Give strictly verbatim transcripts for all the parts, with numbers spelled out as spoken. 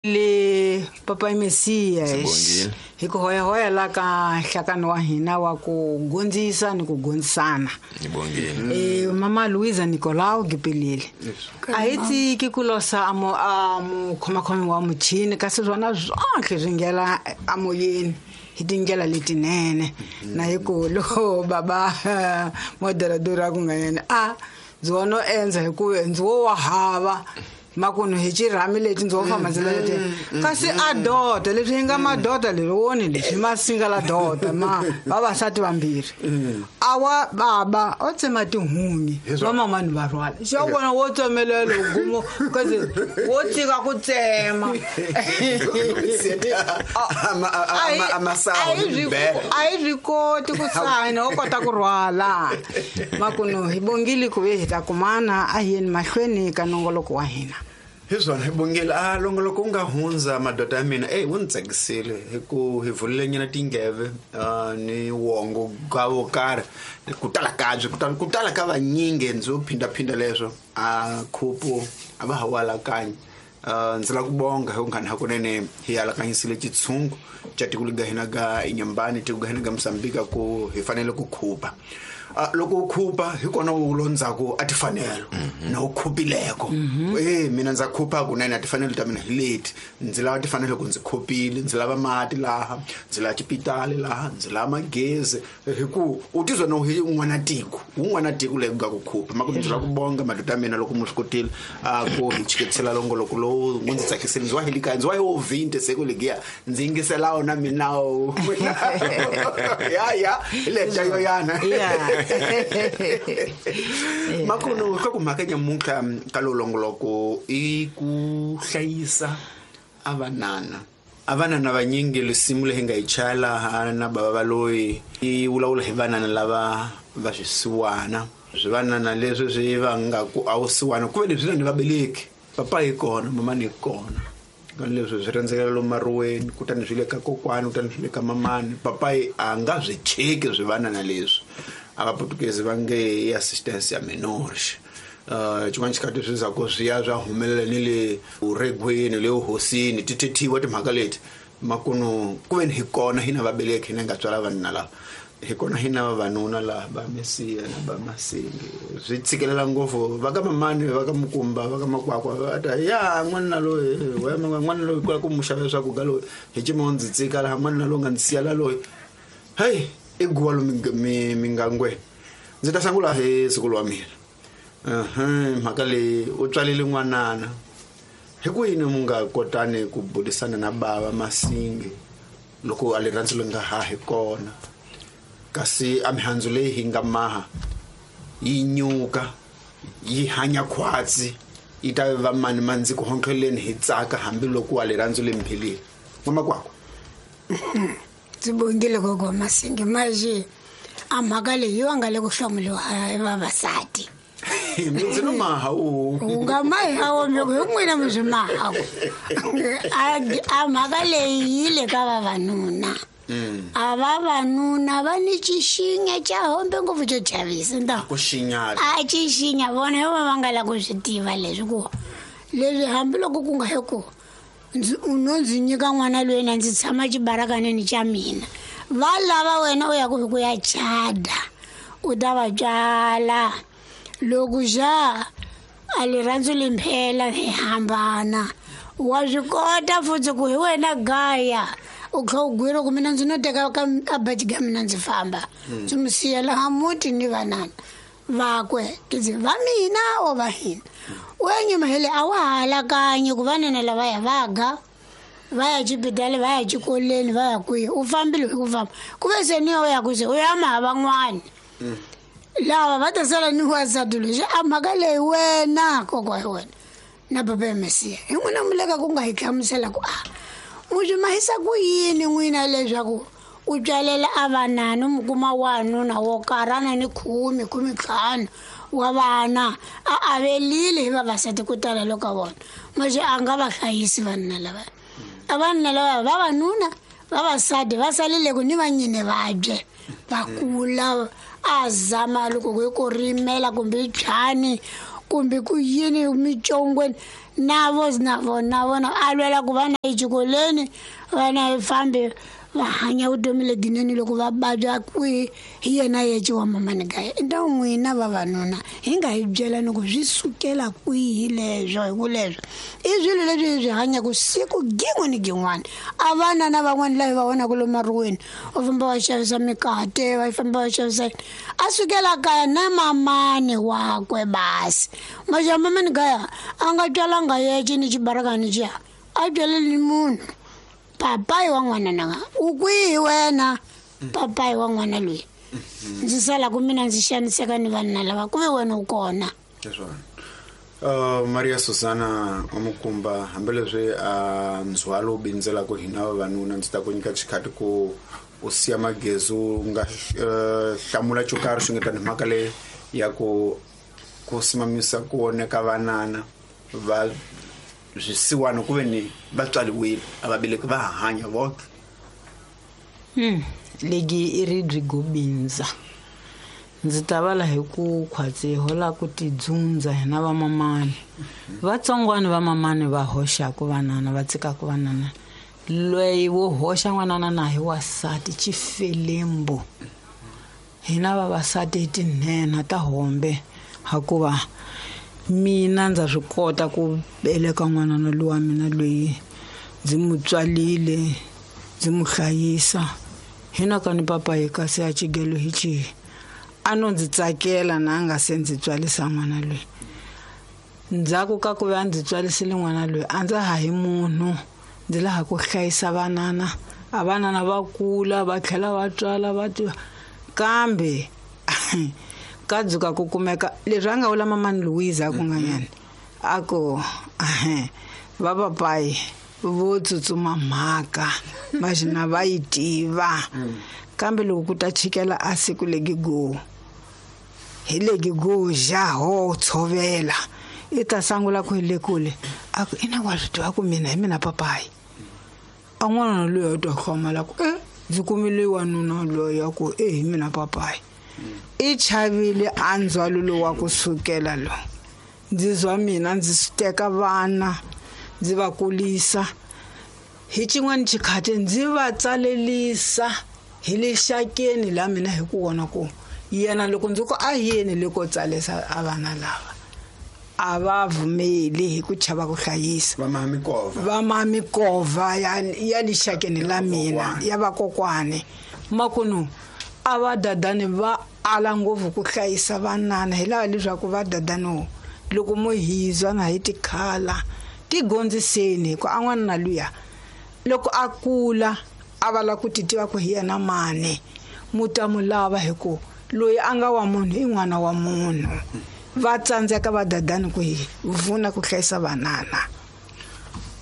Le Papa Messias hi ku hoyahoya la ka nhlakano wa hina wa ku gondzisa ni ku gondzisana. Eh Mama Luisa Nicolau Gipilile a hi tiki ku losa a mo a mo khomakhomi wa muchini kasi swona zonke swi nghena amoyeni hi tindlela letinene na hi ku loko baba moderadora ku nga yena a ndzi wona endza hi ku ndzi wo wa hava makunu hi xirhami leti ndzi wo famba ndzi leti kasi a dota leswi hi nga madota leri woni leswi masinga la dota ma vavasati vambirhi awa baba o tsema tihunyi vamamani va rhwala xo vona wo tsemelela gumo kasi wo tika ku tsema a hi swi koti ku sayina wo kota ku rhwala makunu hi bongile ku ve hi ta kumana a hi yeni mahlweni ka nongoloko wa hina. Hi swona hi bongile a longoloko wu nga hundza madoda ya mina eyi wu ni tsakisile hi ku hi vulile nyana tingeve ni wongo ka wo karhi ku tala kabye ku tala ku tala ka vanyingi ndzi wo phindaphinda leswo a khupu a va ha wu alakanyi. Ndzi lava ku bonga hi ku nghani hakunene hi alakanyisile xitshungu xa tiko lega hina ga Inyambani tiko ga hina ga Mozambique ku hi fanele ku khupa. Loko u khupa hi kona u lo ndzhaku a tifanelo na u khupileko eh mina ndza khupa kunene a tifanelo ta mina hi leti ndzi lava tifanelo ku ndzi khupile ndzi lava mati laha ndzi lava xipitali laha ndzi lava magezi hi ku u tizwa no hi un'wana tiko un'wana tiko leyi ku nga ku khupa ma ku ndzi lava ku bonga madoda ya mina loko mu swi kotile a ku hi chiketisela longoloko lowu wu ndzi tsakisile ndzi wa hi likaya ndzi wa hi wo vinte se ku legiya ndzi yingisela wona mina ya ya hi leta yo yana. Makuno ka ku mhaka nyamuntlha ka lolongoloko i ku hlayisa avanana avanana vanyingi lisimu leyi nga yi chaya laha na baba va loyi yi vulavula hi vanana lava va swisiwana swivanana leswi swi va nga ku a wu siwana ku ve leswi ni vabeleki papa yi kona mama ni kona leswi swi rhendzekela lomu maruweni kutani swi le ka kokwani kutani swi le ka mamani papa a nga swi cheki swivanana leswi a vaputukezi va nge i assistance ya menores. Xin'wana xikati swi za ku swi ya swa humelela ni le uregweni le uhosini ti thethiwa timhaka leti makunu ku veni hi kona hina vabeleki hina nga tswala vanuna lava hi kona hina vavanuna laha va Mesiya na va Masingi swi tshikelela ngopfu va ka mamani va ka Mukumba va ka Makwakwa va ta ya n'wanuna loyi n'wanuna loyi kula ku mu xavela swakudya loyi hi cima ndzi tsika laha n'wanuna loyi nga ndzi siyela loyi heyi i guwa lomu mingangweni ndzi ta sungula hi siku wa mina mhaka leyi u tswalile n'wanana hi ku yini mu nga kotani ku burisana na bava Masingi loko a rirhandzu leri nga ha hi kona kasi a mihandzu leyi hi nga maha yi nyuka yi hanya khwatsi yi ta va mani mandzi ku hontleleni hi tsaka hambiloko wa rirhandzu leri mphelile n'wamakwakwa. Ndzi bongile gogo Masingi maji a mhaka leyi yi nga le ku hlomuliwa hi vavasati ndzi no maha u u nga mahawo mi hi n'wina mi swi mahaku a mhaka leyi yi le ka vavanuna. A vavanuna va ni xixinya xa hombe ngopfu xo chavisa nda ku xinya a xixinya vona hi va va nga lavi ku swi tiva leswi ku leswi hambiloko ku nga hi ku ndzi u no ndzi nyika n'wana loyi na ndzi tshama xibarakaneni xa mina va lava wena u ya ku hi ku ya chada u ta va tswala loko xa a rirhandzu limphela hi hambana wa swi kota futhi ku hi wena gaya u kha u gwira ku mina ndzi no teka ka ka baji ka mina ndzi famba ndzi mu siya laha muti ni vanana vakwe ndzi va mina o va hina u ya nyuma hele a wa ha alakanyi ku vanana lavaya va ga va ya xibedhlele va ya xikolweni va ya kwihi u fambile hi ku famba ku ve se ni yo ya ku se u ya maha van'wani lava va ta sala ni wansati loyi a mhaka leyi wena kokwa hi wena na papa ya Mesiya hi n'wina mi le ka ku nga hi hlamusela ku a mu swi mahisa ku yini n'wina leswaku u tswalela a vanana u mu kuma wanuna wo karhana ni khume khume ntlhanu wa vana a avelile hi vavasati ku tala loko vona maxe a nga va hlayisi vanuna lava a vanuna lava vavanuna vavasati va salile ku ni vanyine vabye va kula a zama loko ku hi ku rimela kumbe byani kumbe ku yini micongweni na vo na vona vona a lwela ku vana exikolweni vana hi fambe va hanya vutomi lebyinene loko va vabya kwihi hi yena yece wa mamani kaya nta n'wina vavanuna hi nga hi byela ni ku swi sukela kwihi leswo hi ku leswo i swilo leswi hi swi hanyaka siku gin'we ni gin'wana a vana na van'wana laha hi va vonaka lomu maruweni va famba va xavisa mikate va famba va xavisa a sukela kaya na mamani wakwe basi maxa mamani kaya a nga twalanga yece ni xibarakani xiya a byeleli munhu papayi wa n'wana nanga u kwihi wena papayi wa n'wana loyi ndzi sala ku mina ndzi xaniseka ni vanhu lava ku ve wena u kona uh, Maria Susana Omukumba hambileswi a ndzhwalo wu bindzelaka hina vavanuna ndzi ta ku nyika xikhati ku u siya magezi u nga hlamula xo karhi xi nga tani mhaka leyi ya ku ku simamisa ku oneka vanana va swisiwana ku ve ni va tswariwile a va beleki va hanya vona hmm legi i ri byi gobindza ndzi ta vala hi ku khwatsi hola ku tidzundza hina vamamani vatsongwana vamamani va hoxaku vanana va tshikaku vanana loyi wo hoxa n'wanana na hi wasati xifelembo hina vavasati hi tinhenha ta hombe hakuva mina ndza swi kota ku beleka n'wanana lowa mina loyi ndzi n'wi tswalile ndzi n'wi hlayisa hina ka ni papa hi kasi ya xigelo hi xihi a no ndzi tsakela na a nga se ndzi tswalisa n'wana loyi ndzhaku ka ku va ndzi tswalisile n'wana loyi a ndza ha hi munhu ndzi laha ku hlayisa vanana a vanana va kula va tlhela va tswala va tiva kambe ka dzuka ku kumeka leswi a nga vula mamani Louise a ku nga nyani a ku va papayi vo tsutsuma mhaka maxina va yi tiva kambe loko ku ta chikela a siku legi go hi legi go ja ho tshovela i ta sangula ku hi le kule a ku ina wa swi tiva ku mina hi mina papayi a n'wana loyi a twa hlomala ku e ndzi kumile wanuna loyi a ku e hi mina papayi i chavile a ndzhwalo lowu wa ku sukela lo ndzi zwa mina ndzi swi teka vana ndzi va kulisa hi xin'wana xikhati ndzi va tsalelisa hi le xakeni la mina hi ku vona ku yena loko ndzi ku a yeni le ko tsalisa a vana lava a va vumeli hi ku chava ku hlayisa va mamikova va mamikova ya ya le xakeni la mina ya vakokwani makunu a va dadani va ala ngopfu ku hlayisa vanana hi lava leswaku va dadani loko mo hizwa na hi tikhala ti gondziseni hi ku a n'wana na luya loko a kula a va lava ku ti tiva ku hi yena mani mu ta mu lava hi ku loyi a nga wa munhu i n'wana wa munhu va tsandzeka va dadani ku hi vuna ku hlayisa vanana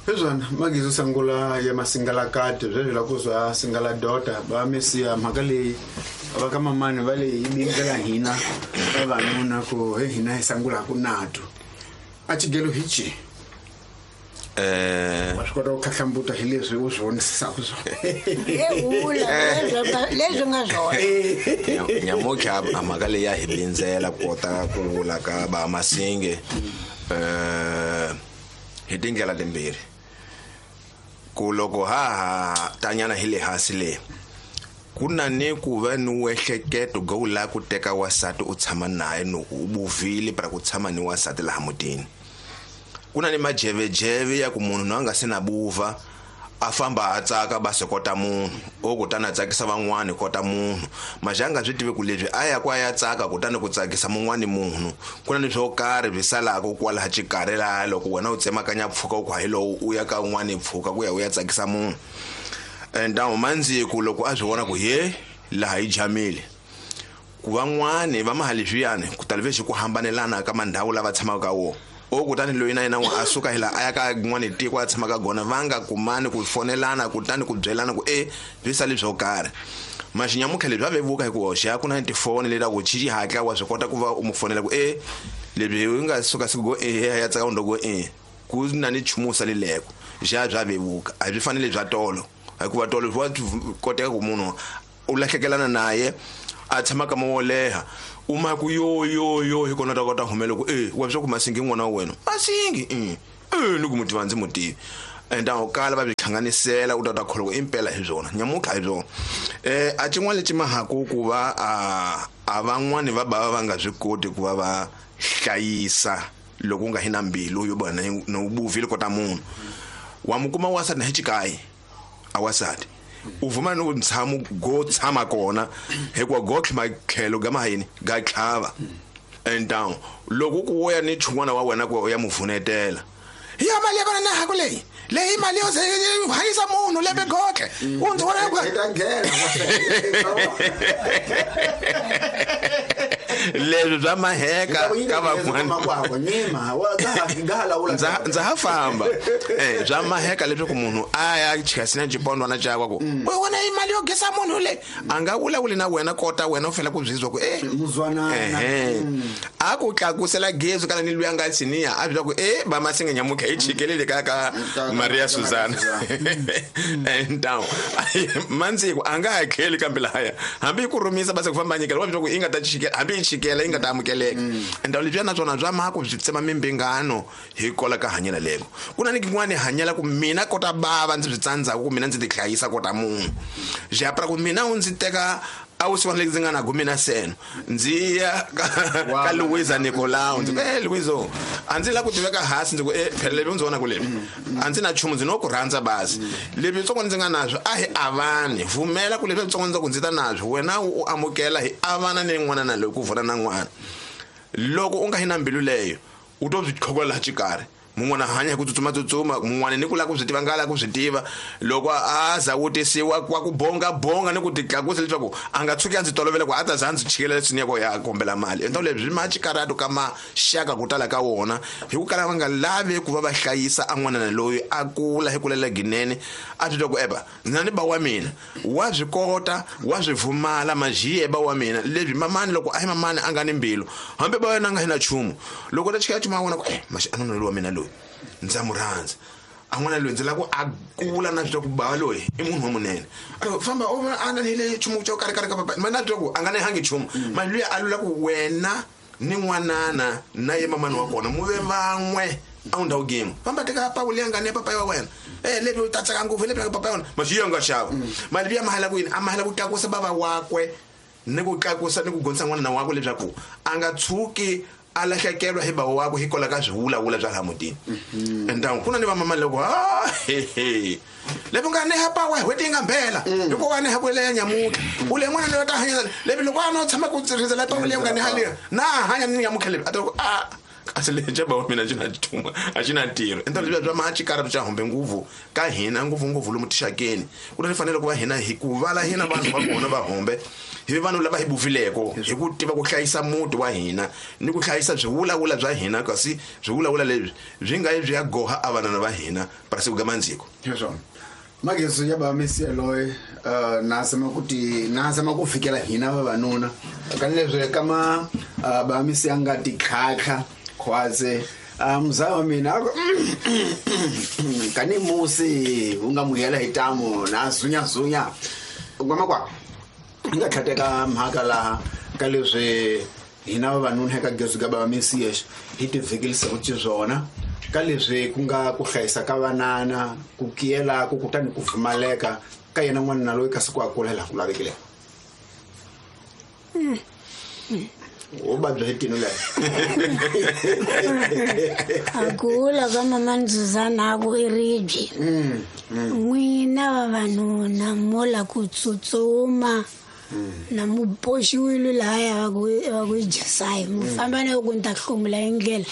hezwana magizo sangula ya masingalakati sweswi la ku zwa singala dota va mesiya mhaka leyi va ka mamani va le yi bindzela hina vavanuna ku he hina hi sangulaku nato a xigelo hi ci eh wa swi kota ku khahlambuta hi leswi u swi vonisisaka swona leswi nga swona nyamutlha a mhaka leyi ya hi bindzela ku kota ku vula ka va Masinge eh hi tindlela timbirhi ku loko ha ha tanyana hi le hansi le ku na ni ku va ni wehleketo go u lava ku teka wasati u tshama naye no u buvile para ku tshama ni wasati laha mutini ku na ni majevejeve ya ku munhu na nga se na buva a famba a tsaka ba se kota munhu o kutani a tsakisa van'wani kota munhu majanga swi tive ku leswi a ya ku a ya tsaka kutani ku tsakisa mun'wani munhu ku na ni swo karhi swi salaka kwalaha xikarhi laha loko wena u tsemakanya pfuka u ku hayi lowu u ya ka un'wani pfuka ku ya u ya tsakisa munhu and mandziku loko a swi vona ku he laha yi jamile ku van'wani va mahali swiyani ku talivexi ku hambanelana ka mandhawu lava tshamaka ka wona o kutani loyi na yena a suka hi laha a ya ka n'wani tiko a tshamaka gona va nga kumani ku fonelana kutani ku byelana ku e swi sali swo karhi maxinyamutlha leswi va vevuka hi ku hoxa ku na tifoni leti ku xi xihatla wa swi kota ku va u mu fonela ku e leswi u nga suka siku go e ya tsaka ndo go e ku na ni nchumu salileko xa bya vevuka a byi fanele bya tolo hikuva tolo wa koteka ku munhu u lahlekelana naye a tshama ka mo leha u ma ku yo yo yo hi kona ta kota humela ku eh wa swa ku Masingi n'wana wa wena Masingi eh eh ni ku mutiva ndzi mutivi and awu kala va byi hlanganisela u ta ta kholwa impela hi byona nyamutlha hi byona eh a xin'wana lexi mahaku ku va a a van'wani va bava va nga swi koti ku va va hlayisa loko u nga hi na mbilu yo bona no buvile kota munhu wa mukuma wasati na hi xikayi a wasati u vuma no ntshamo go tshama kona hikuva go tlhima tlhelo ga mahayini ga tlhava and down loko ku ya ni chun'wana wa wena ku ya muvunetela ya mali ya kona na haku leyi leyi mali yo hanyisa munhu lembe gotle u ndzi vona ku leswi bya maheka ka van'wana ndza ha famba eh bya maheka leswaku munhu a ya chikasina xipondwana xakwe ku u wena i mali yo gesa munhu le a nga vulavuli na wena kota wena u fanele ku byizwa ku eh muzwanana a ku tlakusela gezi kana ni luya nga siniya a bya ku eh ba Masinga nyamuka hi chikelele ka ka Maria Susana and down manzi ku a nga hakeli kambe lahaya hambi ku rhumisa base ku famba nyikela wa bya ku i nga ta chikela hambi chikela yi nga ta amukeleka and leswi na swona bya mhaka byi tsema mimbingano hi kola ka hanyela leko ku na ni kin'wani hanyela ku mina kota bava ndzi byi tsandzaku ku mina ndzi ti hlayisa kota munhu japra ku mina u ndzi teka a wu siwana ndzi nga na gumi na seno ndzi ya ka Luisa Nicolau ndzi ku eh Luisa a ndzi la ku tiveka hansi ndzi ku eh phela leswi ndzi vona ku leswi a ndzi na nchumu ndzi no ku rhandza basi leswi tsongo ndzi nga naswo a hi avani vumela ku leswi tsongo ndzi ku ndzi ta naswo wena u amukela hi avana ni n'wana na loyi ku vona na n'wana loko u nga hi na mbilu leyo u to byi tlhokola laha xikarhi mun'wana hanya hi ku tsutsuma tsutsuma mun'wana ni ku lava ku swi tiva nga lava ku swi tiva loko a za wutisiwa kwa ku bonga bonga ni ku titlakusa leswaku a nga tshuki a ndzi tolovela ku a ta za ndzi chikela leswi ni ya kombela mali endla leswi ma xikaratu ka maxaka ku tala ka wona hi ku kala va nga lavi ku va va hlayisa a n'wanana loyi a kula hi kulela ginene a titwa ku eba na ni ba wa mina wa swi kota wa swi vumala majiye ba wa mina leswi mamani loko a hi mamani a nga ni mbilu hambi ba wena a nga hi na nchumu loko ta chikela nchumu a vona ku eh maxi a nuna loyi wa mina loyi ndza mu rhandza a n'wana loyi ndzi lava ku a kula na swi ku ba loyi i munhu wa munene a famba u a na le nchumu xo karhi karhi ka papa mana twa ku a nga ni hangi nchumu mali luya a lula ku wena ni n'wanana na ye mamani wa kona mu ve van'we a wu ndhawu game famba teka pawu leyi nga ni papa wa wena eh lebi u ta tsaka ngopfu lebi papa wa wena maxi ya nga xava mali luya mahala ku yini a mahala ku tlakusa bava wakwe ni ku tlakusa ni ku gonisa n'wana wakwe leswaku a nga tshuki a lahlekelwa hi bava wakwe hi kola ka swivulavula bya laha mutini and down ku na ni vamama loko ah he he lebi nga ni hapa wa hweti nga mbela hikuva ni haku leya nyamuka u le n'wana loyi ta hanya lebi loko a no tshama ku rindzela pawu leyi nga ni haliya na hanya ni nyamuka lebi a ta ku a kasi lexi ba wa mina xi na nchumu a xi na ntirho endla leswi bya maxikarhi bya humbe nguvu ka hina ngopfu ngopfu lomu tixakeni ku na fanele ku va hina hi ku vala hina vanhu va kona va humbe hi vanhu lava hi buvileko hi ku tiva ku hlayisa muti wa hina ni ku hlayisa swivulavula bya hina kasi swivulavula leswi byi nga byi ya goha a vanana va hina parasi ku gamandziko hiswona Mageso ya ba Mesiya loyi na zama ku ti na zama ku fikela hina vavanuna kanileswi kama ba Mesiya nga tikhakha khwaze mzaa wa mina kani musi u nga muhela hi tamu na zunya zunya ngoma kwa nga tlhateka mhaka laha ka leswi hina vavanuna eka gezu ka ba Mesiya hi tivhekelisa ku xiswona ka leswi ku nga ku hlayisa ka vanana ku kiyela ku kutani ku pfumaleka ka yena n'wana loyi kasi ku a kula laha ku lavekile u vabya hi tino leyi a kula ka mama Ndzuzana ku i ribye n'wina vavanuna mo la ku tsutsuma na mu boxiwile lahaya va ku va ku jasayi mu famba na ku ni ta hlomula hi ndlela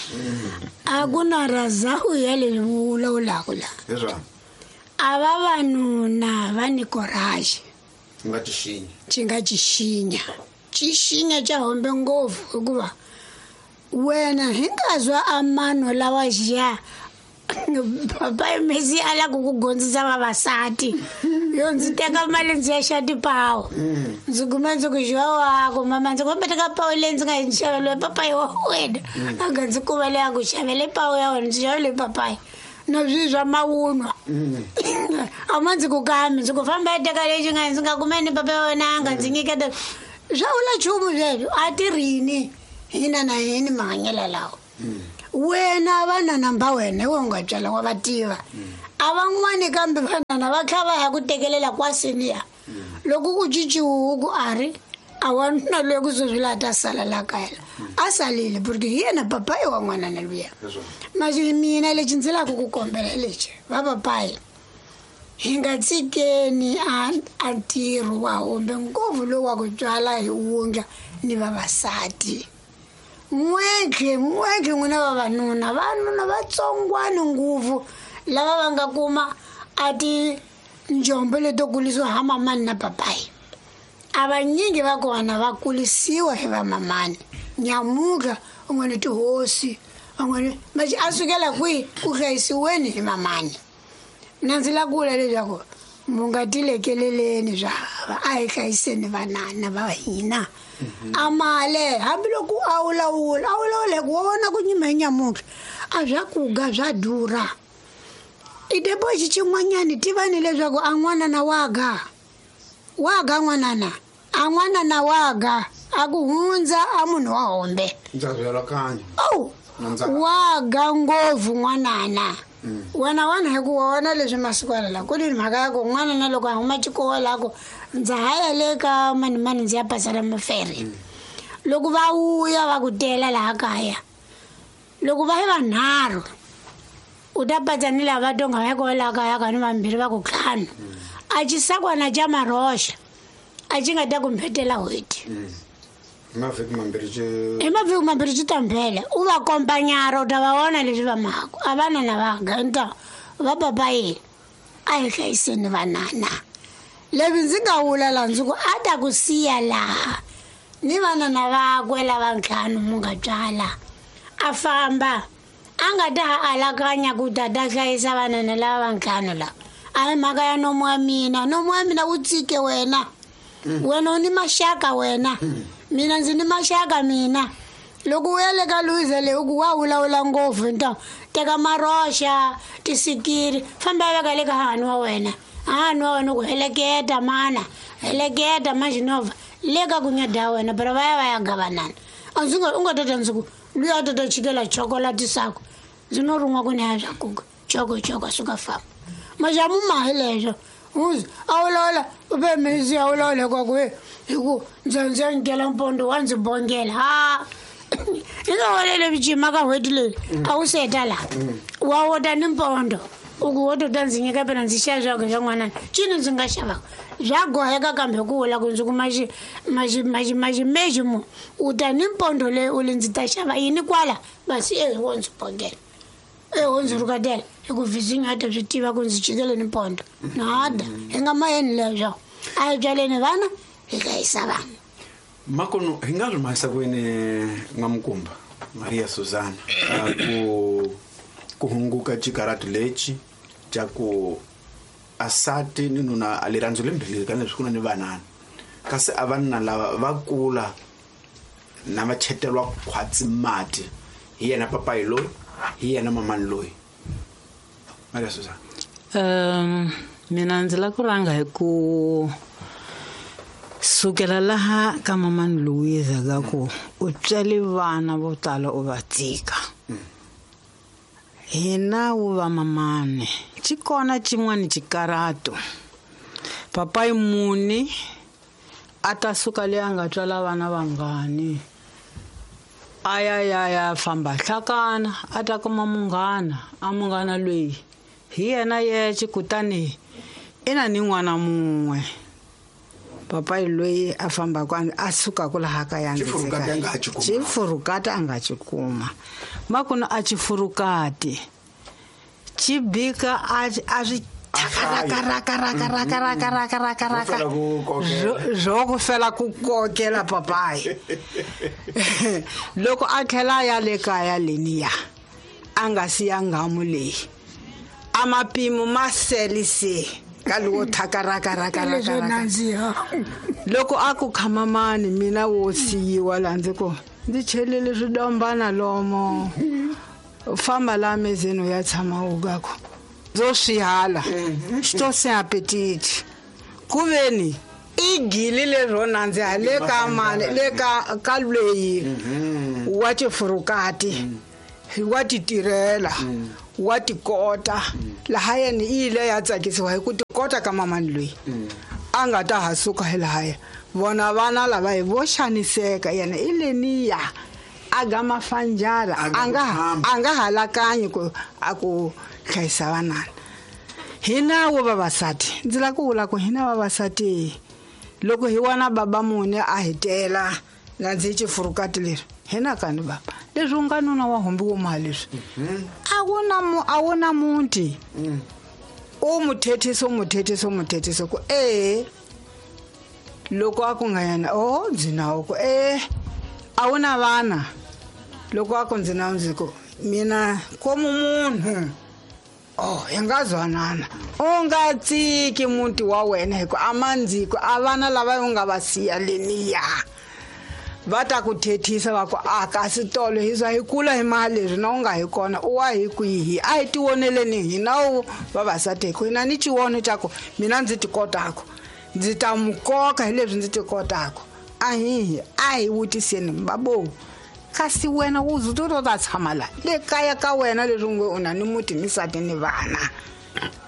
a ku na razahu ya leswi mu vulavulaka la hiswona a vavanuna va ni courage nga tixinya xi nga xixinya xixinya xa hombe ngopfu hikuva wena hi nga zwa amano lawa xiya papa Messi a la ku ku gondzisa vavasati yo ndzi teka mali ndzi ya xa tipawu ndzi kuma ndzi ku xiwa wako mama ndzi kombe teka pawu leyi ndzi nga yi xaveliwe papayi wa wena a nga ndzi kuma leyi a ku xavele pawu ya wena ndzi xavele papayi na swi swa mawunwa a ma ndzi ku kami ndzi ku famba ya teka lexi nga ndzi nga kumeni papa ya wena a nga ndzi nyiketa Swa vula nchumu sweswo a tirhini hina na hini mahanyelo lawa. Wena vanana mba wena we u nga tswala wa va tiva. A van'wani kambe vanana va tlha va ya ku tekelela kwa senior. Loko ku cinciwe ku a ri a wanuna loyi ku sweswi laha ta sala la kaya a salile porque hi yena papayi wa n'wanana luya. Manje mina lexi ndzi lavaka ku kombela lexi va papayi hi nga tshikeni a a ntirho wa hombe ngopfu lowu wa ku tswala hi wundla ni vavasati. N'wentlhe n'wentlhe n'wina vavanuna vanuna vatsongwani ngopfu lava va nga kuma a tinjombo leto kulisiwa ha mamani na papayi. A vanyingi va kona va kulisiwa hi vamamani. Nyamuka un'wana tihosi van'wana manje a sukela kwihi ku hlayisiweni hi mamani. Mina ndzi lava ku vula leswaku mu nga tilekeleleni swa hava a hi hlayiseni vanana va hina. A male hambiloko a wulawula a wulawula hi ku wa vona ku nyima hi nyamutlha a swa kuga swa durha. I deposit xin'wanyani tivani leswaku a n'wanana wa ga wa ga n'wanana a n'wanana wa ga a ku hundza a munhu wa hombe. Ndza byela kanye. Oh wa ga ngopfu n'wanana. Wena wana hi ku wona leswi masiku lawa ku ni mhaka ya ku n'wana na loko a huma xikolo a ku ndza ha ya le ka mani mani ndzi ya pasela mafere. Loko va vuya va ku tela laha kaya loko va hi vanharhu u ta patsa ni lava tonga va ko laha kaya ka ni vambirhi va ku ntlhanu a xisakwana xa maroxa a xi nga ta ku mbhetela n'hweti. Mavhiki mambirhi xi hi mavhiki mambirhi xi ta mbhela u va kombanyara u ta va vona leswi va mhaka a vanana va ganta va papayi a hi hlayiseni vanana. Leswi ndzi nga vula laha ndzi ku a ta ku siya laha ni vanana vakwe lava ntlhanu mu nga tswala a famba a nga ta ha alakanya ku ta ta hlayisa vanana lava va ntlhanu lava. A hi mhaka ya nomu wa mina nomu wa mina wu tshike wena. Wena u ni maxaka wena. Mina ndzi ni maxaka mina. Loko u ya le ka Luiza leyi u ku wa vulavula ngopfu nta teka maroxa tisikiri famba veka le ka hahani wa wena. Hahani wa wena ku heleketa mana heleketa maxinova le ka ku nyada wena pero va ya va ya gavanana. A ndzi nga u nga tata ndzi ku luya a tata chikela chocolate sako ndzi no rin'wa ku ni ya swa kuka choko choko suka famba. Majamu ma hi leswo uzi a vulavula u ve misi a vulavula kwa ku hi ku ndza ndzi nkela mpondo wa ndzi bongela ha hi nga walele vijima ka n'hweti leyi a wu seta laha wa wota ni mpondo u ku wo tota ndzi nyika pena ndzi xava swakudya swa n'wanana cini ndzi nga xavaka bya goheka kambe ku vula ku ndzi ku maxi maxi maxi maximeji mu u ta ni mpondo leyi u li ndzi ta xava yini kwala basi e wo ndzi bongela e wo ndzi rhukatela hi ku vizinyo a ta swi tiva ku ndzi chikele ni mpondo nada hi nga mayeni leswo a hi byaleni vana hi hlayisa vana. Makono hi nga swi mahisa kwini N'wamukumba Maria Susana ku ku hunguka xikaratu lexi xa ku asati ni nuna a rirhandzu lembilini ka leswi ku na ni vanana kasi a vanna lava va kula na va chetelwa khwatsi mati hi yena papayi loyi hi yena mamani loyi. Maria Susana. Um mina ndzi lava ku rhanga hi ku sukela laha ka mamani Luiza ka ku u tswele vana vo tala u va tshika. Hina wu va mamani xi kona xin'wana xikarato papayi muni a ta suka leyi a nga tswala vana vangani a ya ya ya famba hlakana a ta kuma munghana a munghana loyi hi yena yexe kutani i na ni n'wana mun'we. Papayi loyi a fambaka a sukaka laha kaya xifurukati a nga xi kuma makunu a xifurukati xi bika a a swi raka raka raka raka raka raka raka raka zwo ku fela ku kokela papayi. Loko a tlhela ya le kaya leniya a nga siya nghamu leyi a mapimo ma selise ka lowo thaka raka raka raka raka. Loko a ku khamamani mina wo siyiwa laha ndzi ku ndzi chelele swidombana lomo famba laha mezeni u ya tshama u ka ku ndzo swi hala xi to se appetite ku veni I gili lero nandziha le ka mani le ka ka lweyi wa tifurukati wa ti tirhela wa tikota laha yena i ile ya tsakisiwa hi ku tikota ka mamani loyi a nga ta ha suka hi lahaya vona vana lava hi vo xaniseka yena i leniya a ga mafanjara a nga a nga halakanyi ku a ku hlayisa vanana. Hina wo vavasati ndzi lava ku vula ku hina vavasati loko hi wana baba mune a hi tela na ndzi xifurukati leri hina kani baba leswi u nga nuna wa hombi wo mali leswi a wu na mu a wu na muti u mu thethisa u mu thethisa u mu thethisa ku e loko a ku nga yena o ndzi nawo ku e a wu na vana loko a ku ndzi nawo ndzi ku mina komu munhu oh hi nga zwanana u nga tsiki muti wa wena hi ku a mandziko a vana lava u nga va siya leniya va ta ku thethisa va ku a kasi tolo hi za hi kula hi mali leswi na u nga hi kona u wa hi kwihi a hi tivoneleni hina wu vavasati hi ku hina ni xivono xa ku mina ndzi ti kotaka ndzi ta mu koka hi leswi ndzi ti kotaka a hihi a hi vutiseni babo kasi wena u zuto ta tshama la le kaya ka wena leswi nge u na ni muti ni nsati ni vana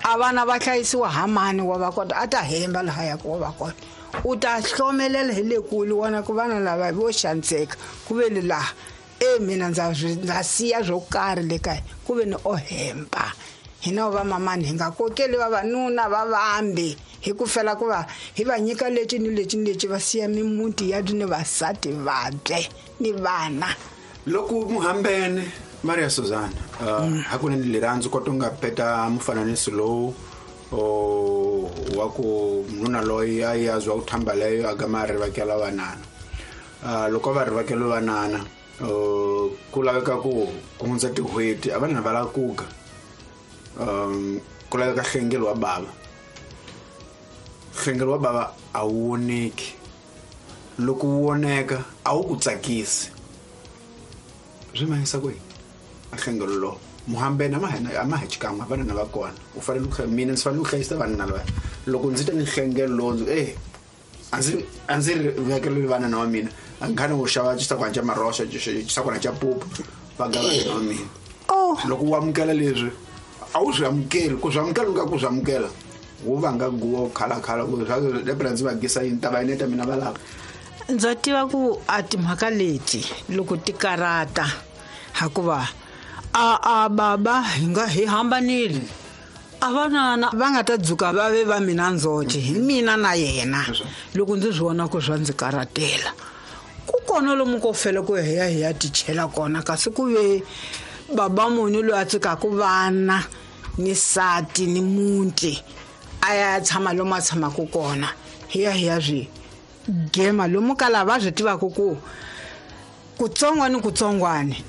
a vana va hlayisiwa ha mani wa va kota a ta hemba lahaya ku wa va kota u ta hlomelela hi le kule wona ku vana lava vo xaniseka ku ve le laha e mina ndza ndza siya swo karhi le kaya ku ve ni o hemba hina va mamani hi nga kokeli vavanuna va vambe hi ku fela ku va hi va nyika lexi ni lexi ni lexi va siya mimuti ya ni vasati vabye ni vana. Loko muhambene Maria Suzana uh, hakunene lirhandzu kota u nga peta mufananiso lowu o wa ku nuna loyi a ya zwa ku thamba leyo a gama a rivakela vanana uh, loko va rivakela vanana uh, ku laveka ku ku hundza tin'hweti a vanana va lava ku ga um ku laveka hlengelo wa bava hlengelo wa bava a wu voneki loko wu voneka a wu ku tsakisi swi mahisa kwihi a hlengelo lowu muhambene a ma a ma ha xikan'we vanana va kona u fanele ku mina ndzi fanele ku hlayisa vanana lava loko ndzi ta ni hlengelo lowu ndzi eh a ndzi a ndzi ri vekele vanana wa mina a nkhani wo xava xisakwana xa maroxa xisakwana xa pupu va ga vanana wa mina loko u amukela leswi a wu swi amukeli ku swi amukela u nga ku swi amukela wu vanga guwa khalakhala ku lepela ndzi va gisa yini ta va yineta mina va lava. Ndza tiva ku a timhaka leti loko ti karata hikuva a a baba hi nga hi hambanile a vanana va nga ta dzuka va ve va mina ndzoxe hi mina na yena loko ndzi swi vona ku swa ndzi karatela ku kona lomu ko fela ku hi ya hi ya tichela kona kasi ku ve baba munhu loyi a tsikaka vana ni sati ni muti a ya tshama lomu a tshamaka kona hi ya hi ya swi gema lomu ka lava swi tivaka ku kutsongwani kutsongwani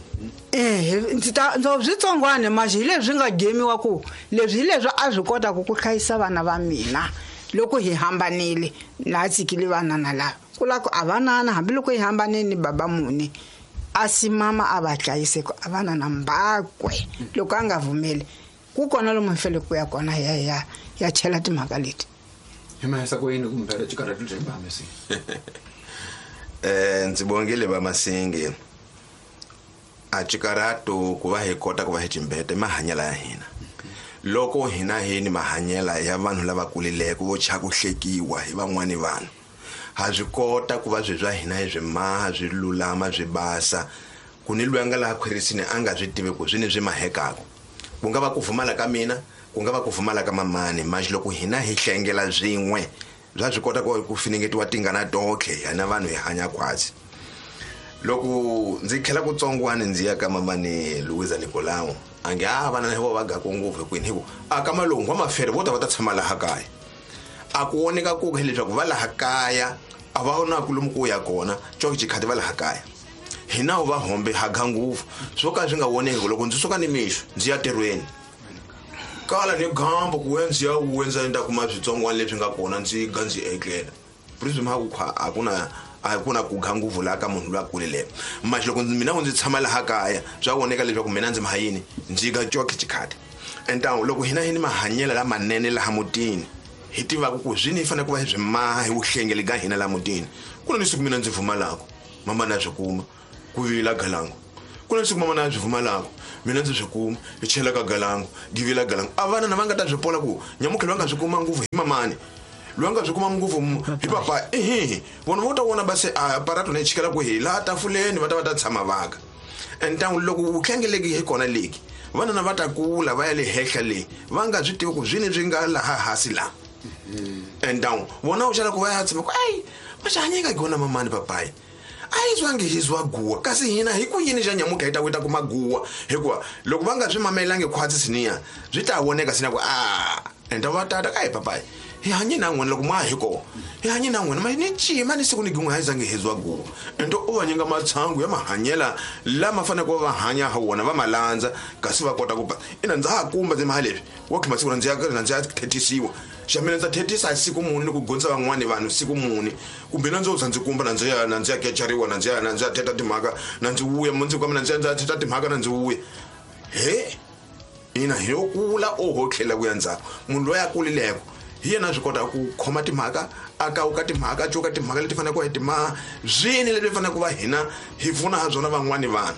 eh ndzi ta ndzi switsongwane maxi hi leswi nga gemiwa ku leswi hi leswi a swi kotaka ku hlayisa vana va mina loko hi hambanile na tsikile vanana lava ku lava ku a vanana hambiloko hi hambanile ni baba muni a si mama a va hlayise ku a vanana mbakwe loko a nga vumeli ku kona lomu hi fanele ku ya kona hi ya ya ya chela timhaka leti. Hi mahisa ku yini kumbe xikarhati bya Masinge? Eh ndzi bongile va Masinge a xikarhati ku va hi kota ku va hi cimbete mahanyelo ya hina loko hina hi ni mahanyelo ya vanhu lava kulileke vo cha ku hlekiwa hi van'wani vanhu ha swi kota ku va swi swa hina hi swi maha swi lulama swi basa ku ni loyi a nga laha khwirisini a nga swi tivi ku swi ni swi mahekaka ku nga va ku pfumala ka mina ku nga va ku pfumala ka mamani maxi loko hina hi hlengela swin'we bya swi kota ku finingetiwa tingana tonkhe hina vanhu hi hanya khwatsi. Loko ndzi tlhela kutsongwani ndzi ya ka mamani Luisa Nicolau a nge a vana vo va gaku ngopfu hikwini hi ku a ka malungu wa mafere vo ta va ta tshama laha kaya a ku voneka ku hileswaku va laha kaya a va na ku lomu ku ya kona coke xikhati va laha kaya hina va hombe ha ga ngopfu swo ka swi nga voneki loko ndzi suka ni mixo ndzi ya tirhweni kala ni gambo ku ndzi ya wendza ndza kuma switsongwana leswi nga kona ndzi ga ndzi etlela prism ha ku a ku na a ku na ku ga ngopfu laha ka munhu loyi a kulile maxi loko mina ndzi tshama laha kaya swa voneka leswaku mina ndzi mahayini ndzi ga coke xikhati entawu loko hina hi ni mahanyelo lamanene laha mutini hi tivaka ku swini hi fanele ku va hi swi maha hi vuhlengeli ka hina la mutini. Ku na ni siku mina ndzi pfumalaka mama na swi kuma ku vila galangu. Ku na siku mama na swi pfumalaka mina ndzi swi kuma hi chela ka galangu givila galangu. A vana na va nga ta swi pola ku nyamukhelo va nga swi kuma ngopfu hi mamani loyi a nga swi kuma ngopfu hi papa. Ehe vona vo ta vona va se a aparato na yi chikela ku hi laha tafuleni va ta va ta tshama vaka. And ntangu loko vuhlengeleki hi kona leki vanana va ta kula va ya le henhla le va nga swi tivi ku swini swi nga laha hansi laha. And down vona u xala ku va ya tshama ku ayi va xi hanyeka kona mamani papayi a yi zwangi hi zwa guwa kasi hina hi ku yini xa nyamuka hi ta ku ta kuma guwa hikuva loko va nga swi mamelangi khwatsi siniya swi ta voneka sina ku a enda va tata ka hi papayi hi hanye na n'wina loko ma hi kona hi hanye na n'wina ma ni cima ni siku ni gin'we a yi zangi hi zwa guwa. Ende u va nyika matshangu ya mahanyela lama faneleke va hanya ha wona va ma landza kasi va kota ku ba ina ndza ha kumba ndzi maha leswi wa khima siku ndzi ya ndzi ya thethisiwa xa mina ndza thethisa siku muni ni ku gondza van'wani vanhu siku muni kumbe na ndzo za ndzi kumba na ndzi ya na ndzi ya kecariwa na ndzi ya na ndzi ya theta timhaka na ndzi vuya mundzuku ka mina ndzi ya ndzi ya theta timhaka na ndzi vuya. He ina hi yo kula oho tlhela ku ya ndzhaku munhu loyi a kulileko hi yena swi kota ku khoma timhaka a kawuka timhaka a cuka timhaka leti faneleke hi timaha swini leswi faneleke ku va hina hi pfuna ha byona van'wani vanhu.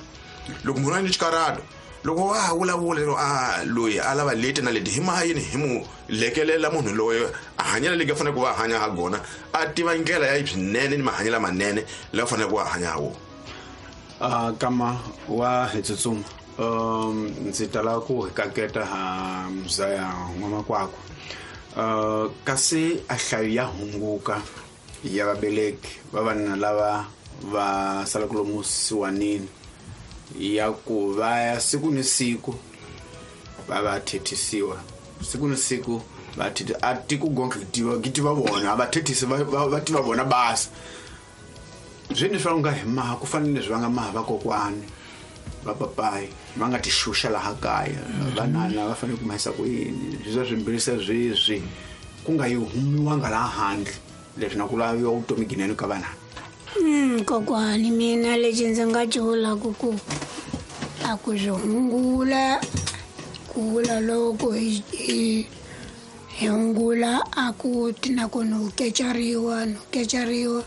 Loko munhu a ni xikarato loko wa ha vulavula lero a loyi a lava leti na leti hi maha yini hi mu lekelela munhu loyi a hanyela leki a faneleke ku va hanya ha gona a tiva ndlela ya swinene ni mahanyelo lamanene lawa faneleke ku va hanya ha wona. A kama wa hi tsutsuma um ndzi tala ku hi kaketa ha mzaya n'wamakwakwa. Uh, kasi a hlayo ya hunguka ya vabeleki va vanuna lava va salaka lomu siwanini ya ku va ya siku ni siku va va thethisiwa siku ni siku va theti a tiku gonke tiva tiva vona a va thethisi va va tiva vona basa zwini swa nga hi maha ku fanele swi va nga maha vakokwani va papayi va nga ti xuxa laha kaya vanana va fanele ku mahisa ku yini swi swimbirhi se sweswi ku nga yi humiwanga laha handle leswi na ku laviwa vutomi ginene ka vana. Mm, kokwani mina lexi ndzi nga ci vulaka ku a ku swi hungula ku vula loko hi hi hi hungula a ku ti na ku no kecariwa no kecariwa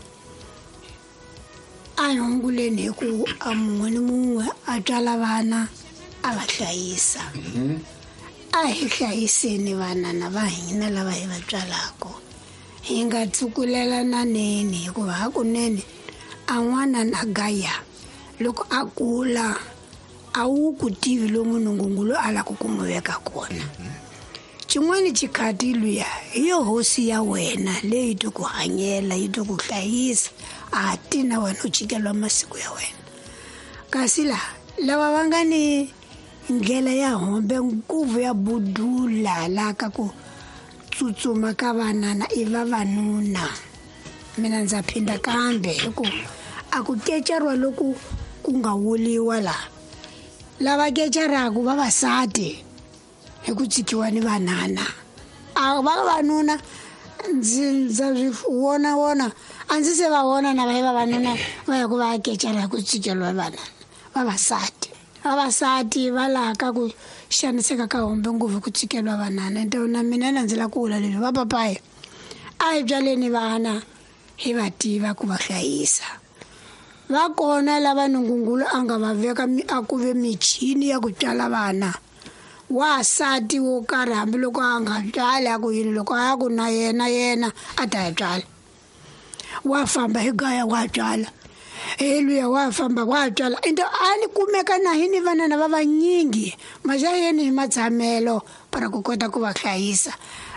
a hi hunguleni hi ku a mun'we ni mun'we a tswala vana a va hlayisa. A hi hlayiseni vanana va hina lava hi va tswalaka hi nga tsukulelananeni hikuva hakunene a n'wana na gaya loko a kula a wu ku tivi lomu nungungulu a lava ku n'wi veka kona. Xin'wana xikhati luya hi yo hosi ya wena leyi ti ku hanyela yi ti ku hlayisa a ti na wena u cikeliwa masiku ya wena. Kasi laha lava va nga ni ndlela ya hombe nguvu ya budula la ka ku tsutsuma ka vanana i vavanuna. Mina ndza phinda kambe hi ku a ku kecariwa loku ku nga wuliwa laha lava kecaraka vavasati hi ku tshikiwa ni vanana a vavanuna ndzi ndza swi vona vona a ndzi se va vona na va vavanuna va ya ku va ya kecara hi ku tshikeliwa vanana vavasati. Vavasati va laha ka ku xaniseka ka hombe ngopfu ku tshikeliwa vanana. Ende na mina na ndzi lava ku vula leswi va papayi a hi byaleni vana hi va tiva ku va hlayisa. Va kona lava nungungulu a nga va veka a ku ve michini ya ku tswala vana wasati wo karhi hambiloko a nga tswali a ku yini loko a ya ku na yena yena a ta ya tswala wa famba hi gaya wa tswala he luya wa famba wa tswala ende a ni kumeka na hi ni vanana va vanyingi maxayeni hi matshamelo para ku kota ku va hlayisa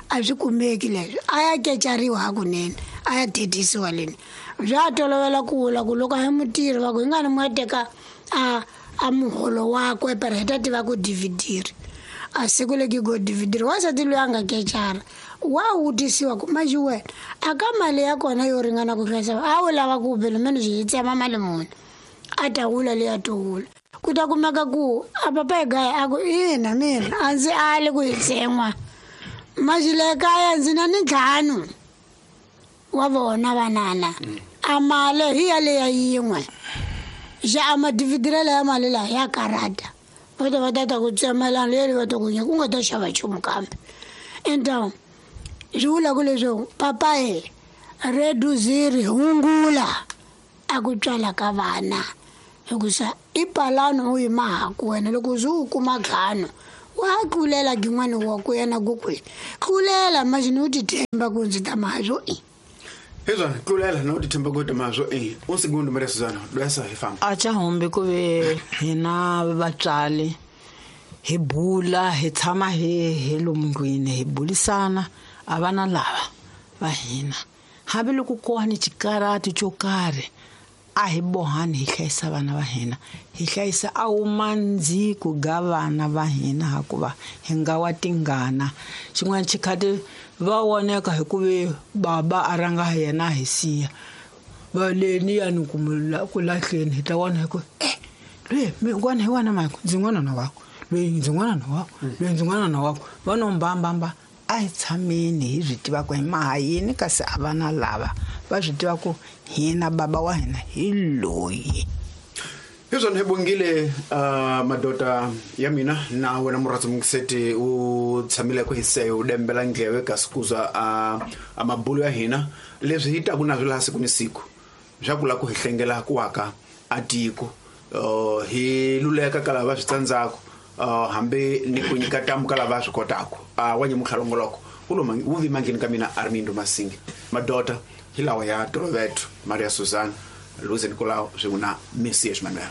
a swi kumeki leswi a ya kecariwa hakunene a ya thethisiwa leni bya tolovela ku vula ku loko a hi mutirhi va ku hi nga ni mu teka a a muholo wakwe para hi ta tiva ku dividiri a siku leki go dividiri wansati loyi a nga kecara wa vutisiwa ku manjhe wena a ka mali ya kona yo ringana ku hlayisa a wu lava ku bela mene swi tsema mali muni a ta wula leyi a to wula ku ta kumeka ku a papa hi gaya a ku ina mina a ndzi ali ku yi tsen'wa manjhe le kaya ndzi na ni ntlhanu wa vona vanana a mali hi yaleya yin'we xa a madividirelo ya mali laha ya karata va ta va ta ta ku tsemelana leri va ta ku nyika ku nga ta xava nchumu kambe ende Swi vula ku leswaku papa e reduziri hungula a ku tswala ka vana hikusa i palano u yi mahaku wena loko ze u kuma ntlhanu wa tlulela gin'wana wa ku yena gokwe tlulela majini u ti themba ku ndzi ta mazwo i hezwana tlulela na u ti themba ku ta mazwo i un segundo Maria Suzana dwesa hi famba a cha humbi ku ve hina vatswali hi bula hi tshama hi hi lomu ndlwini hi bulisana a vana lava va hina hambiloko ku ni xikarati xo karhi a hi bohani hi hlayisa vana va hina hi hlayisa a wumandziku ga vana va hina hakuva hi nga wa tingana xin'wana xikhati va voneka hi ku ve baba a ranga yena hi siya va leni ya ni ku lahleni hi ta vona hi ku eh lwe mi n'wana hi wana mako ndzi n'wana na wako lweyi ndzi n'wana na wako lweyi ndzi n'wana na wako va no mbambamba a hi tshameni hi swi tiva ku hi maha yini kasi a vana lava va swi tiva ku hina baba wa hina hi loyi hezwana hi bongile uh, madoda ya mina na wena murhatsi mungiseti u tshamile ku hiseyo u dembela ndleve kasi kuza uh, a mabulo ya hina leswi hi taku na swi laha siku ni siku swa ku la ku hi hlengela ku aka a tiko uh, hi luleka ka lava swi tsandzaka uh, hambi ni ku nyika tamu ka lava swi kotaka uh, wa nyamutlha wu lo wu vi mangheni ka mina Armindo Masingi madoda hi lawa ya Toloveto Maria Suzana Luze Nicolau swin'we na Messias Manuel.